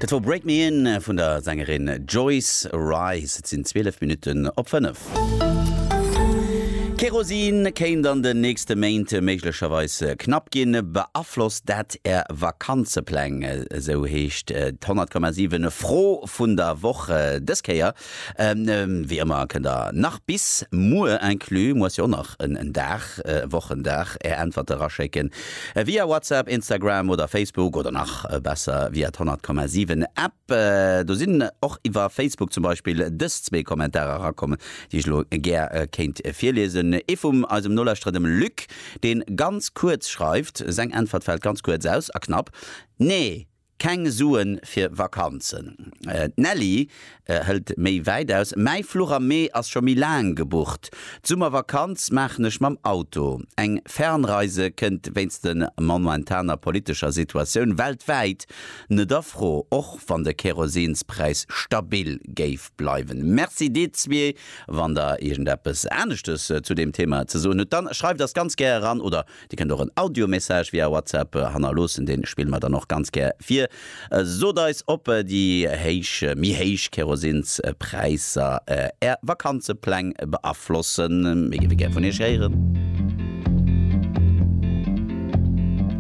Dat wor Break Me In vun der Sängerin Joyce Wrice. Et sinn 12 Minutten op 5. Kerosin kéint an den nächste Méint méiglecherweis knapp ginn. Beaflosst dat Är Vakanzepläng? Esou heescht d'100,7 Fro vun der Woch dës Kéier. Wéi ëmmer kënnt der nach bis muer inclus, muer ass jo och nach en Dag, e Wochendag, är Äntwerte raschécken via WhatsApp, Instagram oder Facebook oder nach besser via d'100,7 App. Do sinn och iwwer Facebook zum Beispill dës zwee Kommentarer erakomm, déi ech elo gär kéint virliesen. Ee vum eisem Nolauschterer, dem Luc, dee ganz kuerz schreift, seng Äntwert fält ganz kuerz aus a knapp, Nee! Keng Suen fir Vakanzen. D'Nelly hëlt méi wäit aus, Mäi Fluch am Mee ass scho méi laang gebucht. D'Summervakanz maachen ech mam Auto. Eng Fernreise kënnt wéinst de momentaner politescher Situatioun weltwäit net a Fro, och wann de Kerosinspräis stabil géif bleiwen. Merci dir zwee. Wann der iergendeppes aneschtes zu deem Thema ze soen hutt, dann schreift eis ganz gär eran oder Dir kënnt och en Audio-Message via WhatsApp hannerloossen, deen spille mer dann och ganz gär vir. Sot eis ob déi héich, méi héich Kerosinspräisser är Vakanzepläng beaflossen. Mir géife gär vun iech héieren.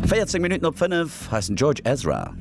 14 Minutten op 5, hei ass den George Ezra.